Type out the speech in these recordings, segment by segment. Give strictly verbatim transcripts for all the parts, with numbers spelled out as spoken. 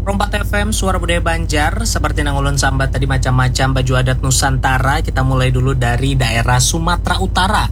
Perompat F M, Suara Budaya Banjar. Seperti nang ulun sambat tadi, macam-macam baju adat Nusantara. Kita mulai dulu dari daerah Sumatera Utara.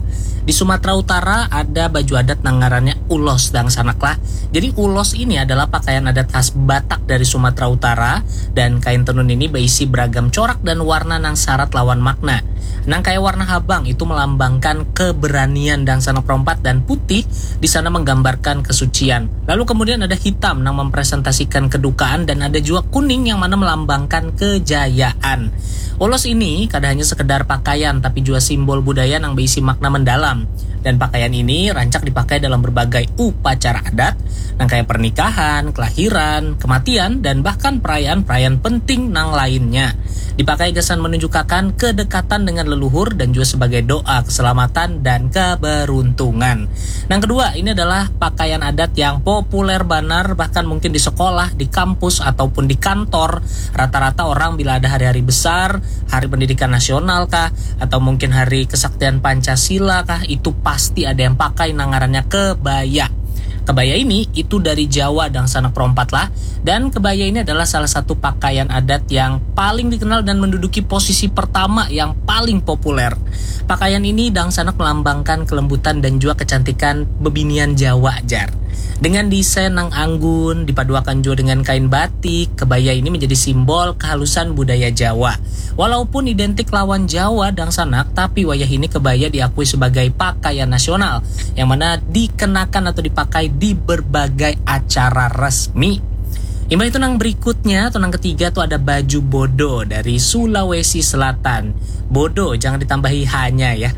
Di Sumatera Utara ada baju adat nang ngarannya ulos, dangsanak lah. Jadi ulos ini adalah pakaian adat khas Batak dari Sumatera Utara, dan kain tenun ini berisi beragam corak dan warna nang syarat lawan makna. Nang kaya warna habang itu melambangkan keberanian, dangsanak perompat, dan putih di sana menggambarkan kesucian. Lalu kemudian ada hitam nang mempresentasikan kedukaan, dan ada jua kuning yang mana melambangkan kejayaan. Ulos ini kada hanya sekedar pakaian, tapi jua simbol budaya nang berisi makna mendalam. Dan pakaian ini rancak dipakai dalam berbagai upacara adat, nang kaya pernikahan, kelahiran, kematian, dan bahkan perayaan-perayaan penting nang lainnya. Dipakai gasan menunjukakan kedekatan dengan leluhur dan juga sebagai doa keselamatan dan keberuntungan. Nang kedua, ini adalah pakaian adat yang populer banar, bahkan mungkin di sekolah, di kampus, ataupun di kantor. Rata-rata orang bila ada hari-hari besar, hari pendidikan nasional kah, atau mungkin hari kesaktian Pancasila kah, itu pasti ada yang pakai nang ngarannya kebaya. Kebaya ini itu dari Jawa, dangsanak perompat lah. Dan kebaya ini adalah salah satu pakaian adat yang paling dikenal dan menduduki posisi pertama yang paling populer. Pakaian ini, dangsanak, melambangkan kelembutan dan juga kecantikan bebinian Jawa, jar. Dengan desain nang anggun, dipaduakan juga dengan kain batik, kebaya ini menjadi simbol kehalusan budaya Jawa. Walaupun identik lawan Jawa, dangsanak, tapi wayah ini kebaya diakui sebagai pakaian nasional, yang mana dikenakan atau dipakai di berbagai acara resmi. Imbah itu, nang berikutnya atau nang ketiga tuh ada baju bodo dari Sulawesi Selatan. Bodo, jangan ditambahi hanya ya.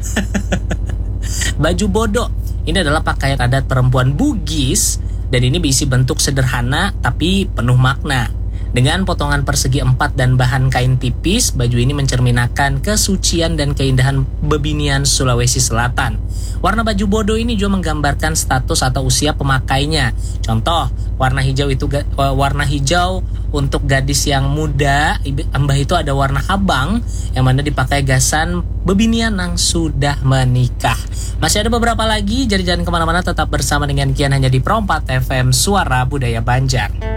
Baju bodo ini adalah pakaian adat perempuan Bugis, dan ini berisi bentuk sederhana tapi penuh makna. Dengan potongan persegi empat dan bahan kain tipis, baju ini mencerminakan kesucian dan keindahan bebinian Sulawesi Selatan. Warna baju bodo ini juga menggambarkan status atau usia pemakainya. Contoh, warna hijau itu ga- eh, warna hijau untuk gadis yang muda, ibi- imbah itu ada warna habang yang mana dipakai gasan bebinian nang sudah menikah. Masih ada beberapa lagi, jadi jangan kemana-mana, tetap bersama dengan Kian hanya di Perompat F M, Suara Budaya Banjar.